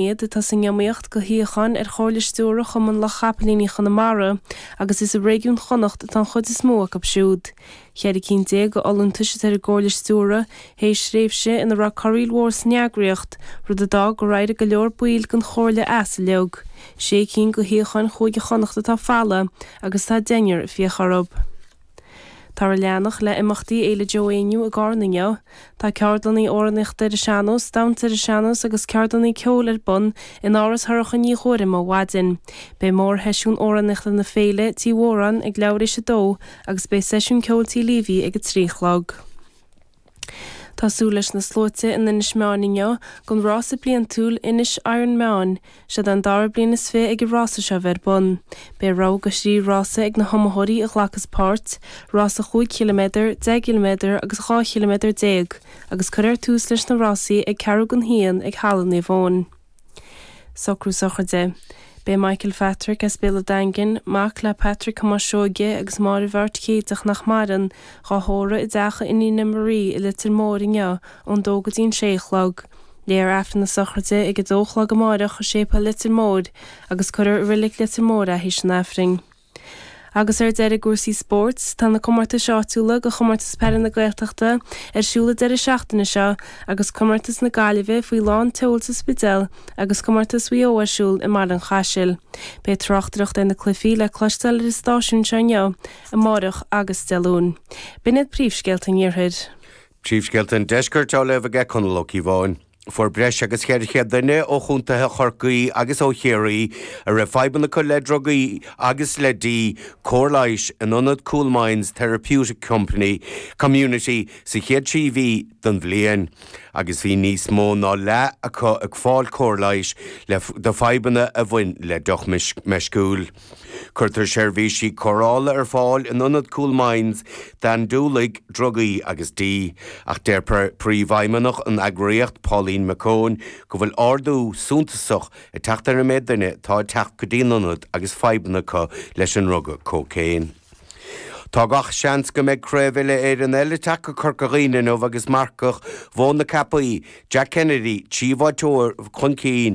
Iad atá san iomaíocht do shuíocháin ar Chomhairle Stiúrtha Chumann Lucht Chapaillíní Chonamara agus is i réigiún Chonnacht atá an chuid is mó acu siúd. 14 cinn de fholúntais atá ar an gComhairle Stiúrtha théis thréimhse ina raibh corraíl mhór san eagraíocht, rud a d'fhág gur éirigh go leor baill den Chomhairle as uilig. Sé cinn de shuíocháin Chúige Chonnacht atá folamh agus tá deichniúr ag fiach orthu. Táthar ag leanacht le imeachtaí Fhéile Joe Éinniú i gCarna inniu. Tá ceardlanna amhránaíochta ar an sean-nós, damhsa ar an sean-nós agus ceardlanna ceoil ar bun in Áras Shorcha Ní Ghuairim ó mhaidin. Beidh mórsheisiún amhránaíochta na féile, Tí Mhóráin, ag leathuair éis a dó agus beidh seisiún ceoil Tí Leavey ag a 3 a chlog. Tá súil leis na sluaite in Inis Meáin inniu don rása bliantúil Inis Iron Meáin. Seod é an dara bliain is 20 ag an rása seo a bheith ar bun. Beidh rogha de thrí rása ag na hiomaitheoirí a ghlacas páirt, rása chúig chiliméadar, 10 gciliméadar agus 12 chiliméadar, agus cuirfear tús leis na rásaí ag ceathrú don haon ag Halla Naomh Eoin. Socrú sochraide. Beidh Michael Phatrick as Béal an Daingin, mac le Patrick Thomáis Seoige agus Máire Mheáirt Céideach nach maireann, dhá thórramh i dteach a iníne Marie i Leitir Móir inniu ón dó go dtí an sé a chlog. Léifear Aifreann na sochraide ag a dó a chlog amáireach i Séipéal Leitir Móir agus cuirfear i Reilig Leitir Móir é théis an Aifrinn. Agus ar deireadh i gcúrsaí spóirt, tá na comórtais áitiúla do Chomórtas Peile na Gaeltachta ar siúl an deireadh seachtaine seo agus Comórtas na Gaillimhe faoi lán tseoil sa Spidéal agus Comórtas Mhaigh Eo ar siúl i mBaile an Chaisil. Beidh tráchtaireacht ar na cluichí le cloisteáil ar an stáisiún seo inniu, amáireach agus Dé Luain. B'in iad príomhscéalta an Iarthair. Príomhscéalta an Deiscirt á léamh aige Conall Ó Cíobháin. Fuair breis agus 400 duine ó chontaetha Chorcaí agus ó Chiarraí a raibh fadhbanna acu le drugaí agus le dí cóir leighis in ionad Coolmines Therapeutic Company Community sa chéad trí mhí den bhliain agus bhí níos mó ná leath acu ag fáil cóir leighis le do fadhbanna a bhain le deoch meisciúil. Cuirtear seirbhísí cóireála ar fáil in ionad Coolmines d'andúiligh drugaí agus dí, ach deir Príomhfheidhmeannach an eagraíocht, Pauline McKeown, go bhfuil ardú suntasach ag teacht ar an méid duine atá ag teacht go dtí an ionad agus fadhbanna acu leis an ndruga cócaon. Tá gach seans go mbeidh craobh uile-Éireann eile ag teacht go Corca Dhuibhne inniu agus marcach Mhóin na Ceapaí, Jack Kennedy, trí bháiteoir chun cinn.